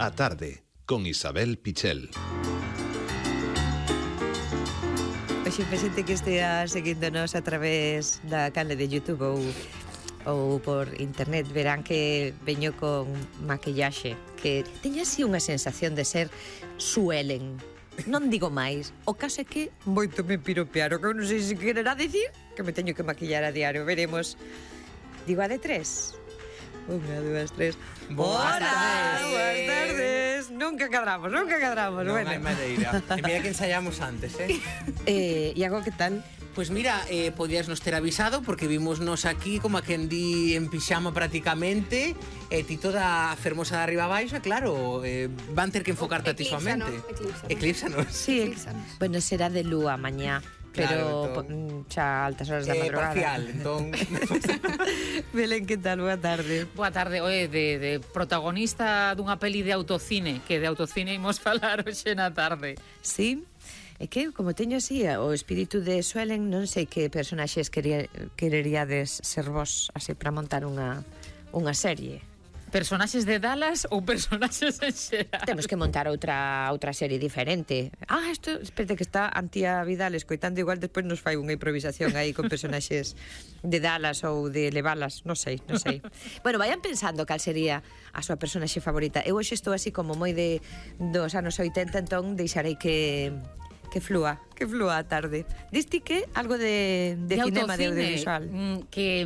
A tarde, con Isabel Pichel. Oxe, xente que estea seguíndonos a través da canle de YouTube ou por internet verán que veño con maquillaxe que teña así unha sensación de ser Suelen. Non digo máis. O caso é que moito me piropearon, que eu non sei se quererá dicir que me teño que maquillar a diario. Veremos. Digo a de 3. 1, 2, 3. Boas tardes. Boas tardes. Nunca cadramos. Non Bueno. hai madeira. E mira que ensayamos antes, Iago, que tal? Pois mira, podías nos ter avisado porque vimos aquí como a quen di en pixama prácticamente e ti toda fermosa de arriba abaixo, e claro, van ter que enfocarte a ti soamente. Eclípsanos. Sí, bueno, será de lúa mañá. Pero Claro, entón, xa altas horas da madrugada. parcial, entón. Belén, que tal? Boa tarde. Boa tarde, de protagonista dunha peli de autocine, que de autocine imos falar hoxe na tarde. Sí, é que como teño así o espírito de Suelen, non sei que personaxes quereríades ser vos así para montar unha serie. Personaxes de Dallas ou personaxes en xeral? Temos que montar outra serie diferente. Espérate que está Antía Vidal escoitando, igual despois nos fai unha improvisación aí con personaxes de Dallas ou de Levalas, non sei. Bueno, vayan pensando cal sería a súa personaxe favorita. Eu hoxe estou así como moi dos anos 80, entón deixarei que flúa a tarde. Diste que algo de cinema, de audiovisual. Que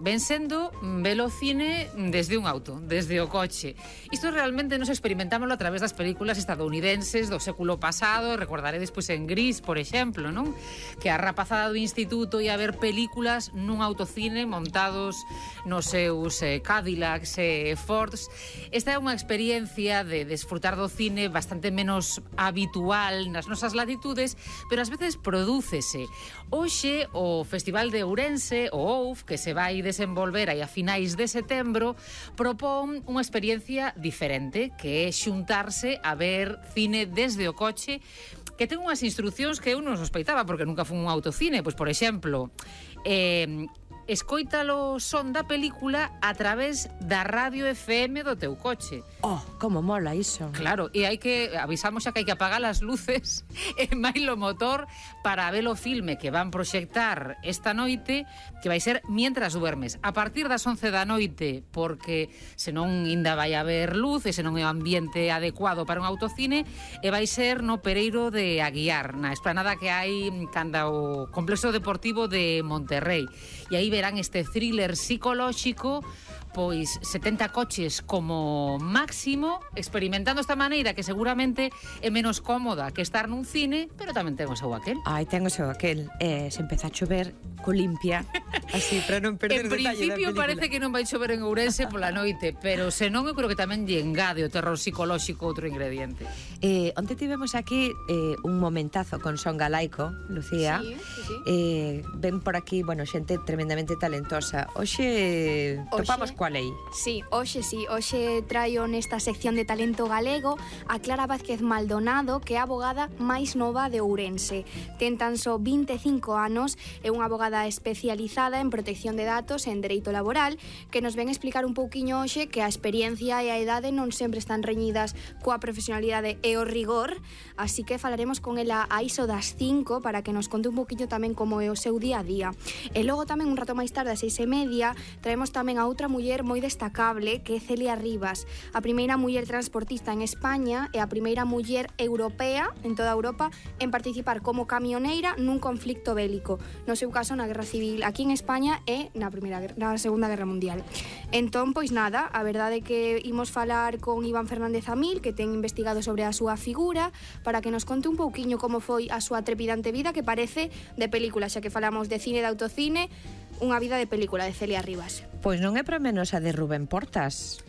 ven sendo velo cine desde un auto, desde o coche. Isto realmente nos experimentámoslo a través das películas estadounidenses do século pasado. Recordaré despois en Gris, por exemplo, non? Que a rapazada do instituto ia ver películas nun autocine montados nos seus Cadillacs e Fords. Esta é unha experiencia de desfrutar do cine bastante menos habitual nas nosas latitudes, pero ás veces prodúcese. Hoxe o Festival de Ourense, o OUF, que se vai desenvolver aí a finais de setembro, propón unha experiencia diferente, que é xuntarse a ver cine desde o coche, que ten unhas instruccións que eu non sospeitaba, porque nunca fun un autocine. Pois, por exemplo, escoítalo son da película a través da radio FM do teu coche. Como mola iso. Claro, e avisamos xa que hai que apagar as luces e mailo motor para ver o filme que van proxectar esta noite, que vai ser mientras duermes. A partir das 11 da noite, porque senón ainda vai haber luz e senón é o ambiente adecuado para un autocine, e vai ser no Pereiro de Aguiar, na esplanada que hai canda o Complexo Deportivo de Monterrey. E aí verán este thriller psicolóxico, pois 70 coches como máximo, experimentando esta maneira que seguramente é menos cómoda que estar nun cine, pero tamén ten o seu aquel. Ten o seu aquel. Se empeza a chover, limpia, así, para non perder en detalle da principio película. parece que non vai chover en Ourense pola noite, pero senón eu creo que tamén lle engade o terror psicolóxico outro ingrediente. Onte tivemos aquí un momentazo con son galaico, Lucía. Sí. Ven por aquí, xente tremendamente talentosa. Hoxe topamos coa lei. Sí, hoxe traio nesta sección de talento galego a Clara Vázquez Maldonado, que é a abogada máis nova de Ourense. Ten tan só 25 anos, é unha abogada especializada en protección de datos e en dereito laboral, que nos ven explicar un pouquiño hoxe que a experiencia e a idade non sempre están reñidas coa profesionalidade e o rigor, así que falaremos con ela a iso das 5 para que nos conte un pouquiño tamén como é o seu día a día. E logo tamén un rato máis tarde, ás 6:30, traemos tamén a outra muller moi destacable, que é Celia Rivas, a primeira muller transportista en España e a primeira muller europea en toda Europa en participar como camioneira nun conflicto bélico, no seu caso na Guerra Civil aquí en España e na Segunda Guerra Mundial. Entón, pois nada, a verdade é que imos falar con Iván Fernández Amil, que ten investigado sobre a súa figura, para que nos conte un pouquiño como foi a súa trepidante vida, que parece de película, xa que falamos de cine, de autocine, unha vida de película de Celia Rivas. Pois non é para menos a de Rubén Portas.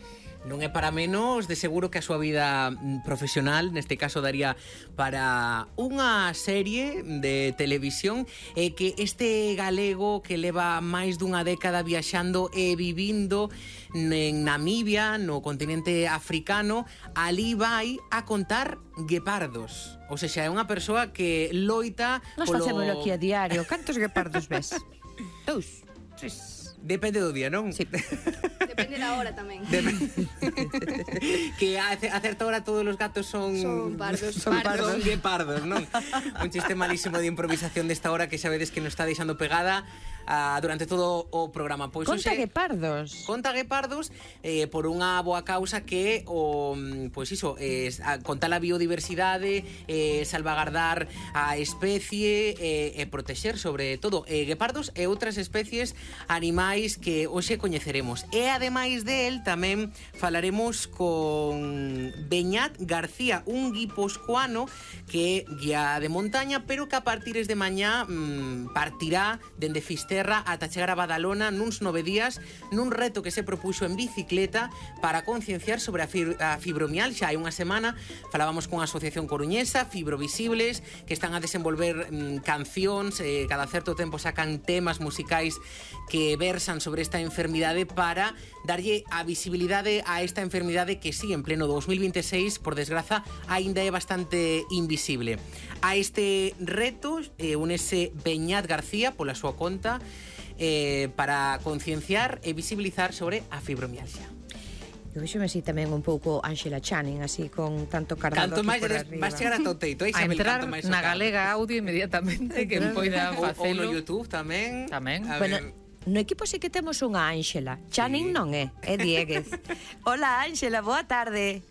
Non é para menos, de seguro que a súa vida profesional neste caso daría para unha serie de televisión, e que este galego que leva máis dunha década viaxando e vivindo en Namibia, no continente africano, ali vai a contar guepardos. Ou seja, é unha persoa que loita Nos facémolo aquí a diario. Cantos guepardos ves? 2, 3. Depende do día, non? Sí. Depende da hora tamén. que a certa hora todos os gatos son pardos. Son guepardos, non? Un chiste malísimo de improvisación desta hora que sabedes que nos está deixando pegada durante todo o programa. Pois Conta guepardos. Conta guepardos por unha boa causa que contar a biodiversidade, salvagardar a especie e protexer sobre todo guepardos e outras especies animais que hoxe coñeceremos. E ademais del tamén falaremos con Beñat García, un guipuscoano que é guía de montaña, pero que a partires de mañá partirá dende Fisterra ata chegar a Badalona nuns 9 días nun reto que se propuxo en bicicleta para concienciar sobre a fibromialgia. Hai unha semana falábamos con a Asociación Coruñesa, Fibrovisibles, que están a desenvolver cancións, cada certo tempo sacan temas musicais que versan sobre esta enfermidade para darlle a visibilidade a esta enfermidade que sí, en pleno 2026, por desgraza, aínda é bastante invisible. A este reto únese Beñat García pola súa conta para concienciar e visibilizar sobre a fibromialgia. Eu vexome así tamén un pouco Ángela Channing, así con tanto cardado canto aquí máis por arriba. vas chegar a toteito, A entrar na Galega Audio inmediatamente que poida ou facelo. no YouTube tamén. Bueno, no equipo sí que temos unha Ángela. Channing non é Dieguez. Hola Ángela, boa tarde.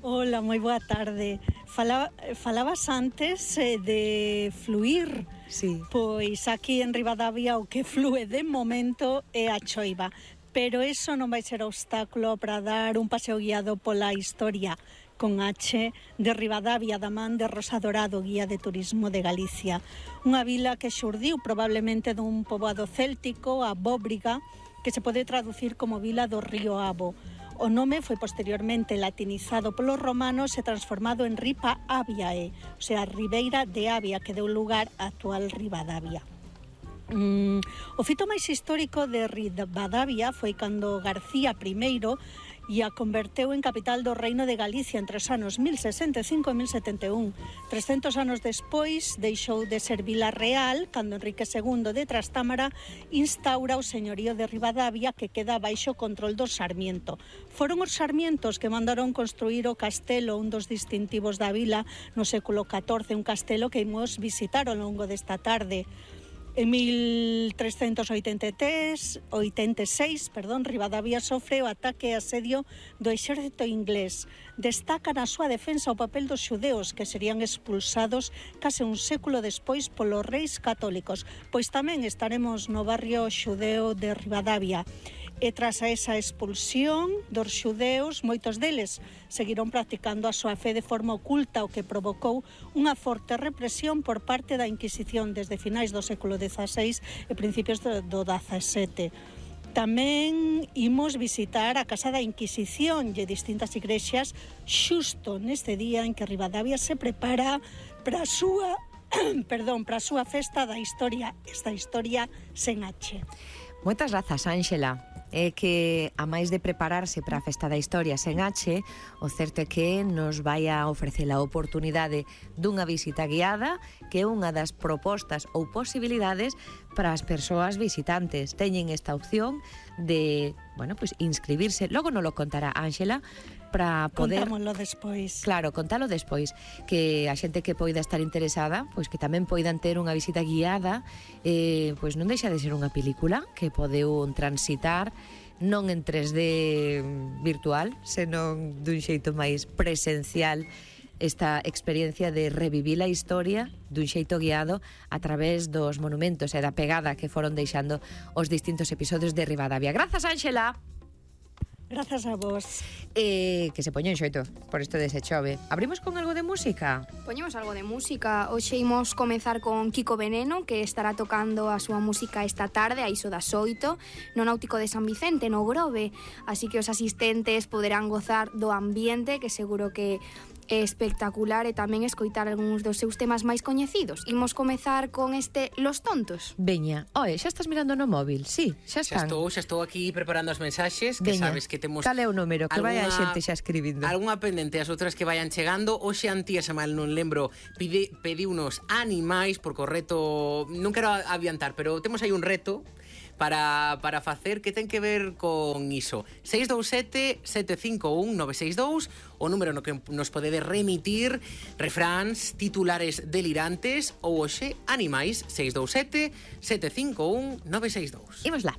Hola, moi boa tarde. Falabas antes de fluir. Sí. Pois aquí en Ribadavia o que flúe de momento é a choiva. Pero eso non vai ser obstáculo para dar un paseo guiado pola historia con H de Ribadavia da man de Rosa Dorado, guía de turismo de Galicia. Unha vila que xurdiu probablemente dun poboado céltico, a Bóbriga, que se pode traducir como vila do río Abo. O nome foi posteriormente latinizado polos romanos e transformado en Ripa Aviae, o sea, Ribeira de Avia, que deu lugar á actual Ribadavia. O fito máis histórico de Ribadavia foi cando García I e a converteu en capital do Reino de Galicia entre os anos 1065 e 1071. 300 anos despois deixou de ser vila real cando Enrique II de Trastámara instaura o señorío de Ribadavia que queda baixo control dos Sarmiento. Foron os Sarmientos que mandaron construir o castelo, un dos distintivos da vila no século XIV, un castelo que imos visitar ao longo desta tarde. En 1386, Ribadavia sofre o ataque e asedio do exército inglés. Destaca na súa defensa o papel dos xudeos que serían expulsados case un século despois polos reis católicos. Pois tamén estaremos no barrio xudeo de Ribadavia. E tras a esa expulsión dos xudeos, moitos deles seguiron practicando a súa fe de forma oculta, o que provocou unha forte represión por parte da Inquisición desde finais do século XVI e principios do XVII. Tamén imos visitar a Casa da Inquisición e distintas igrexas xusto neste día en que Ribadavia se prepara para a súa festa da historia, esta historia sen H. Moitas grazas, Ángela. É que, a máis de prepararse para a Festa da Historia sen H, o certo é que nos vai a ofrecer a oportunidade dunha visita guiada, que é unha das propostas ou posibilidades para as persoas visitantes. Teñen esta opción de, inscribirse. Logo non lo contará Ángela, para poder... Contámoslo despois. Claro, contalo despois, que a xente que poida estar interesada, pois que tamén poidan ter unha visita guiada, pois non deixa de ser unha película que podeu transitar non en 3D virtual, senón dun xeito máis presencial, esta experiencia de revivir a historia dun xeito guiado a través dos monumentos e da pegada que foron deixando os distintos episodios de Ribadavia. Grazas, Ángela! Grazas a vos. Que se poñen xoito por isto de se chove. Abrimos con algo de música? Poñemos algo de música. Hoxe imos comezar con Kiko Veneno, que estará tocando a súa música esta tarde a iso das 8 no Náutico de San Vicente, no Grove. Así que os asistentes poderán gozar do ambiente, que seguro que é espectacular, e tamén escoitar algúns dos seus temas máis coñecidos. Imos comezar con este Los Tontos. Veña, xa estás mirando no móvil? Sí, xa están. Xa estou aquí preparando as mensaxes, que Veña, sabes que temos... Cal é o número? Que vai a xente xa escribindo. Algúnha pendente, as outras que vayan chegando. Hoxe Antía, se mal non lembro, pediunos animais, porque o reto... Non quero adiantar, pero temos aí un reto para facer que ten que ver con iso. 627 751 962, o número no que nos podedes remitir refráns, titulares delirantes ou hoxe animais. 627 751 962. Imos lá.